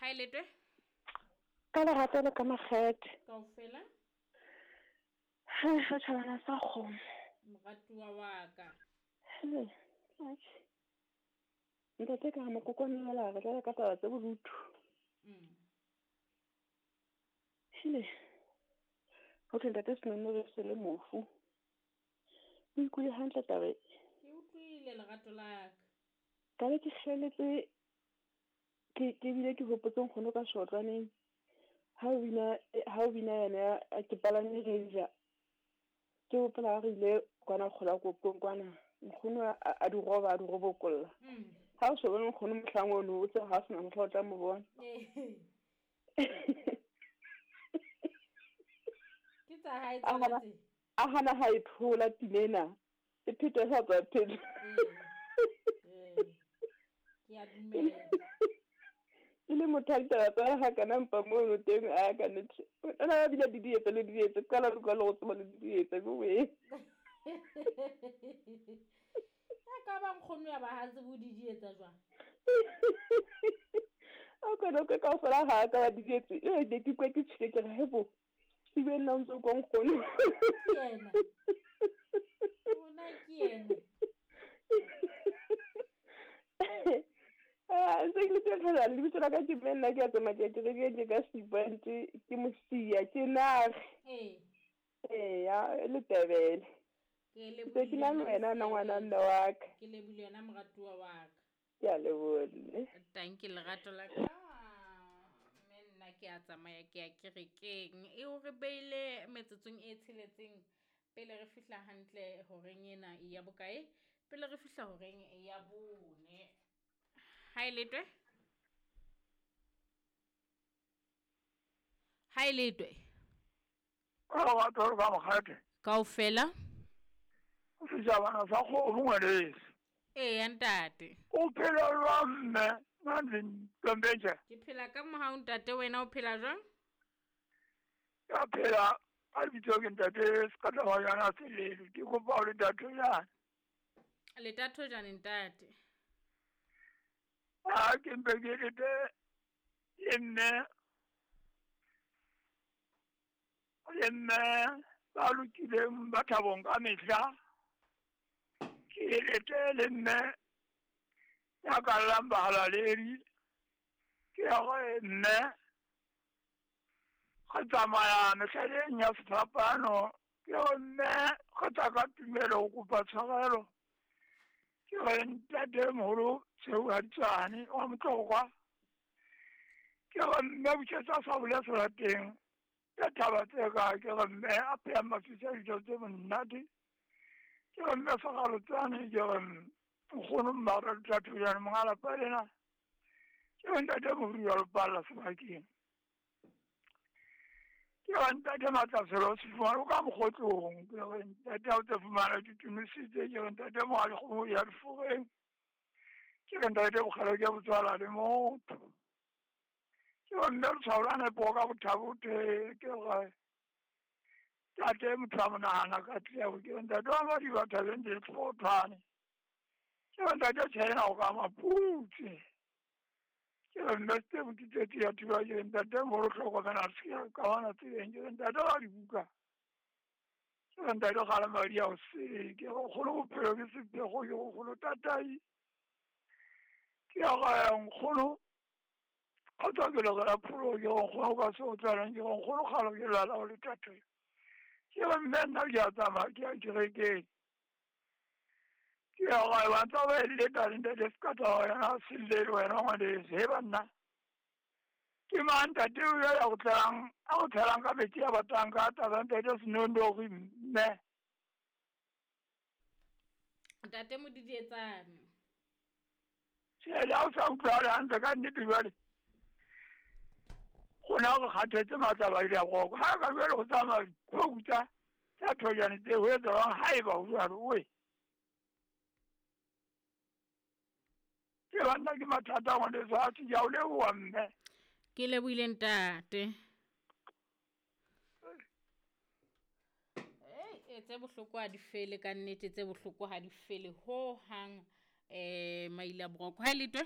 Ha e letwe? Ka lerato le ka makgethe. Kaofela. He, setjhabana sa kgomo. Moratuwa wa ka. He, atjhe. Ntate ka re mokokwane wela re tlela ka taba tse bodutu. Hele. Ho thwe ntate Senono re se le mofu. O ikutlwe hantle taba e. Ke utlwile lerato la ka. Ka be ke hleletse ke bile ke hopotse nkgono ka shotlwaneng. Ha o bina yena ke palame Ranger. Ke hopola ha re ile kwana kgola kopong kwana. Nkgono a di roba, a di robokolla. Ha o so bone nkgono mohlang ono, o tsebe ha o sena mohla o tla mo bona. Ke tsa hae tsona tse. A hana ha e thola pina ena. E phetwa e sa tswa phetwa. Ke a dumela. E le motho a ditaba tsa ha kana mpa mono teng a ka nnete. O na bile di dietse le dietse qala le go tseba le dietse go we. A ka ba nkgono ya ba ha tsebo di dietsa jwang. A ka no ka fela ha ka ba dietse. E ne ke kwa ke tshike ke re hebo. Sibe nna ntse go nkgono. Ke yena. Ona ke yena. Se ke le fela le bitso la ka ke nna ke a tsamaya ke re ke ka Sipante ke mosia ke nare. Ee. Ya le tebele. Ke le ke na le wena na ngwana nna wa ka. Ke lebile yena moratuwa wa ka. Ke a leboha. Thank you lerato la ka. Mme nna ke a tsamaya ke ya kerekeng. E o re beile metsotsong e tsheletseng pele re fihla hantle horeng ena ya bokae? Pele re fihla horeng ya bone. Ha e letwe? Ha e letwe? Ka lerato le ka mokgete. Kaofela? Setjhabana sa kgomo ngwaneso. Eya ntate. O phela jwang mme? Nna Ntombentle. Ke phela ka mohau ntate, wena o phela jwang? Ke a phela ka lebitso ke ntate Sekatabanyana Selele. Ke kopa ho le Thathojane. Le Thathojane ntate. A ke mpe ke lete le mme le mme ba lokileng ba thabong ka mehla. Ke lete le mme ya ka llang bahalaledi. Ke ya gore mme re tsamaya mehleleng ya sefapano. Ke re mme re tla ka tumelo ho kopa tshwarelo. Ke re ntate moholo Tsheu Haditsane wa Motlokwa. Ke re mme bušetsa sa bole serateng. Ke thaba tse ka ke re mme a pheya mafisa dijo tse monate. Ke re mme Segalotsane, ke re nkgono Mmara Thathojane monga lapa lena. Ke re ntate Morui wa Lepalla sebakeng. Ke re ntate Matlaselo Sefumane o ka mokgotlong. Ke re ntate ha o tse fumana ditumisitse. Ke re ntate Mohalekgomo ya Diforeng. Ke re ntate Bokgelo ke botswala le motho. Ke re mme letshwao la nepo ka bothabothe. Ke re tate motho a monahana ka tleo. Ke re ntate wa Madiba thabeng di tlhothwane. Ke re ntate China o ka maputse. Ke re mme Steve ke tsetse ya thiba. Ke re ntate moholo hlokomela se ke ka bona tseleng. Ke re ntate wa dibuka. Ke re ntate kgale madi a o sele. Ke re kgolo bophelo ke sephego. Ke re kgolo tatai. Ke re nkgono kgotsa ke le la pholo. Ke re nkgono ka se o tswalang. Ke re nkgono kgale ke lwala o le tate. Ke re mme nna ke a tsamaya ke ya kerekeng. Ke ya gae ba ntse ba eletsa le ntate Sekatabanyana Selele wena ngwaneso. He banna. Ke mang ntate o ya go tlelang a go tshelang ka metsi a batang ka taba ntate Senonogi mme. Ntate Modidietsane. Tjhe, ha o sa utlwahale hantle ka nnete jwale. Gona re kgathetse matla ba ile a roka. Ha ka jwale go tsamaya dikgoku tsa Thojane tse ho etsa jwang haeba ho jwalo oe. Ke banna ke mathata ngwaneso a ke a o leboha mme. Ke lebohile ntate. Ei, tse bohloko ha di fele ka nnete, tse bohloko ha di fele ho hang. Maile a boroko. Ha e letwe?